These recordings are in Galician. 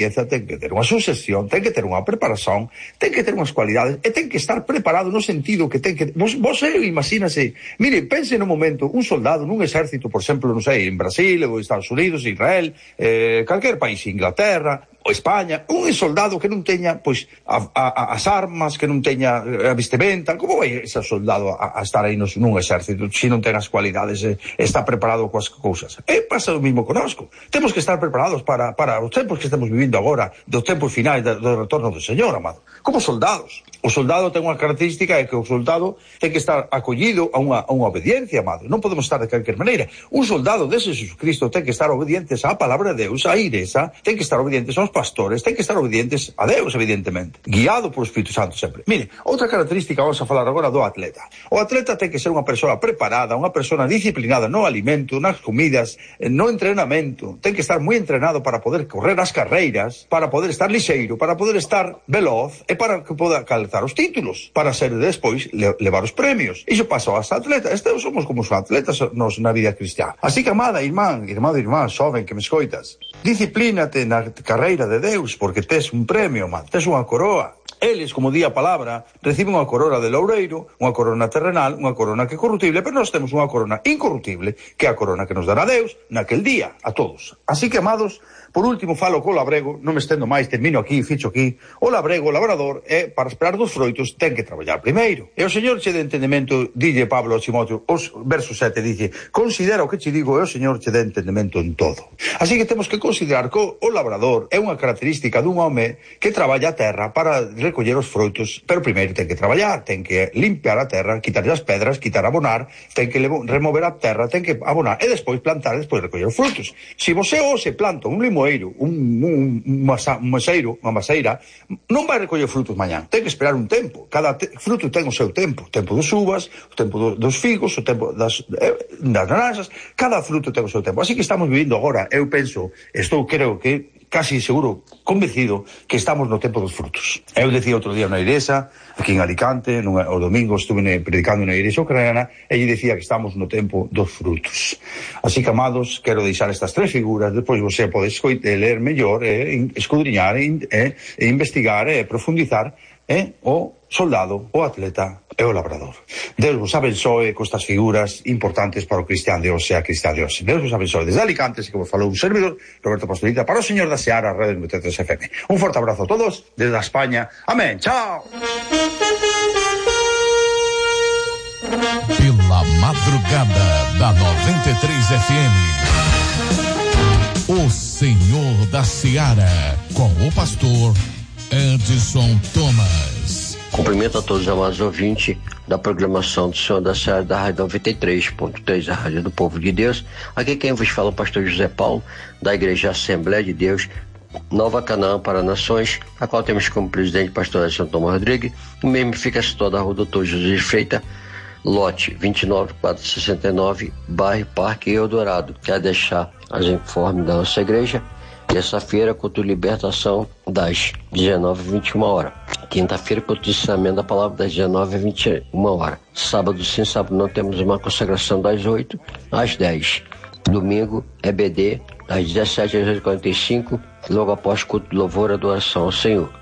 ten que ter unha sucesión, ten que ter unha preparación, ten que ter unhas cualidades, e ten que estar preparado no sentido que ten que... Vos imagínase, mire, pense no momento, un soldado nun exército, por exemplo, non sei, en Brasil, ou Estados Unidos, Israel, calquer país, Inglaterra, ou España, un soldado que non teña, pois, as armas, que non teña a vestimenta, como vai ese soldado a estar aí nun exército, se non ten as cualidades, está preparado coas cousas? Pasa o mismo conosco. Temos que estar preparados para os tempos que estamos vivindo agora, dos tempos finais do retorno do Señor, amado. Como soldados. O soldado ten unha característica, é que o soldado ten que estar acollido a unha obediencia, amado. Non podemos estar de calquer maneira. Un soldado dese Jesucristo ten que estar obedientes á palabra de Deus, á igrexa, ten que estar obedientes aos pastores, ten que estar obedientes a Deus, evidentemente, guiado por Espírito Santo sempre. Mire, outra característica, vamos a falar agora do atleta. O atleta ten que ser unha persoa preparada, unha persoa disciplinada no alimento, nas comidas, no entrenamento, ten que estar moi entrenado para poder correr as carreiras, para poder estar lixeiro, para poder estar veloz e para que poda calzar os títulos, para ser despois levar os premios. Iso pasa aos atletas. Estes somos como os atletas nos na vida cristiana. Así que, amada irmán, xoven que me escoitas, disciplínate na carreira de Deus, porque tes un premio, man, tes unha coroa. Eles, como di a palabra, reciben unha corona de loureiro, unha corona terrenal, unha corona que é corruptible, pero nós temos unha corona incorruptible, que é a corona que nos dará Deus naquel día, a todos. Así que, amados, por último falo co labrego, non me estendo máis, termino aquí, ficho aquí. O labrego, o labrador, para esperar dos froitos, ten que traballar primeiro. E o Señor che de entendemento, dille Pablo a Timoteo, os verso 7, dice, considera o que che digo, e o Señor che de entendemento en todo. Así que temos que considerar que o labrador é unha característica dun home que traballa a terra para recoller os froitos, pero primeiro ten que traballar, ten que limpiar a terra, quitar as pedras, quitar abonar, ten que remover a terra, ten que abonar, e despois plantar, e despois recoller os frutos. Se você se planta un limoeiro, un maseiro, unha maseira, non vai recoller frutos mañán, ten que esperar un tempo. Cada fruto ten o seu tempo, o tempo dos uvas, o tempo dos figos, o tempo das naranxas, cada fruto ten o seu tempo. Así que estamos vivindo agora, eu penso, creo que casi seguro, convencido, que estamos no tempo dos frutos. Eu decía outro día na igrexa, aquí en Alicante, o domingo estuve predicando na igrexa ucraniana, e lle decía que estamos no tempo dos frutos. Así que, amados, quero deixar estas tres figuras, despois você pode ler mellor, escudriñar, investigar, profundizar, o soldado, o atleta e o labrador. Deus vos abençoe con estas figuras importantes para o cristián de hoxe e a cristián de hoxe. Deus vos abençoe desde Alicante, así que vos falou un servidor, Roberto Pastorita, para o Señor da Seara, Radio 93 FM. Un forte abrazo a todos desde España. Amén. Chao. Pela madrugada da 93 FM. O Senhor da Seara, com o pastor Edson Thomas. Cumprimento a todos os amados ouvintes da programação do Senhor da Seara da Rádio 93.3, a Rádio do Povo de Deus. Aqui quem vos fala é o pastor José Paulo, da Igreja Assembleia de Deus, Nova Canaã para Nações, a qual temos como presidente o pastor Edson Thomas Rodrigues. O mesmo fica situado na rua Doutor José de Freitas, lote 29469, bairro Parque Eldorado. Quero deixar as informes da nossa igreja. Terça-feira, culto de libertação, das 19h21. Quinta-feira, culto de ensinamento da palavra, das 19h21. Sábado, sim, sábado não, temos uma consagração das 8 às 10. Domingo, EBD, das 17 às 8h45, logo após culto de louvor e adoração ao Senhor.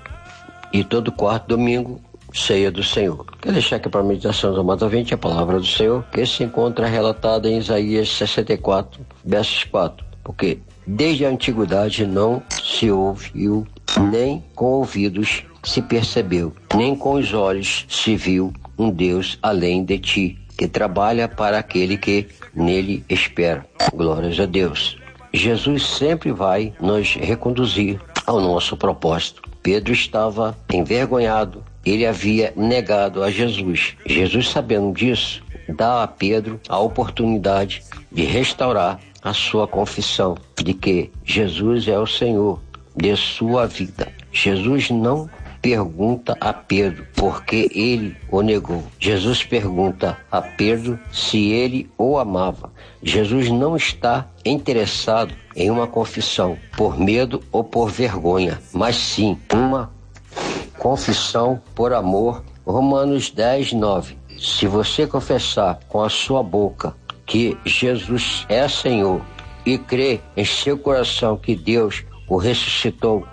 E todo quarto domingo, ceia do Senhor. Quero deixar aqui para a meditação dos amados ouvintes a palavra do Senhor, que se encontra relatada em Isaías 64, versos 4. Porque desde a antiguidade não se ouviu, nem com ouvidos se percebeu, nem com os olhos se viu um Deus além de ti, que trabalha para aquele que nele espera. Glórias a Deus. Jesus sempre vai nos reconduzir ao nosso propósito. Pedro estava envergonhado, ele havia negado a Jesus. Jesus, sabendo disso, dá a Pedro a oportunidade de restaurar a sua confissão de que Jesus é o Senhor de sua vida. Jesus não pergunta a Pedro por que ele o negou. Jesus pergunta a Pedro se ele o amava. Jesus não está interessado em uma confissão por medo ou por vergonha, mas sim uma confissão por amor. Romanos 10:9. Se você confessar com a sua boca que Jesus é Senhor e crer em seu coração que Deus o ressuscitou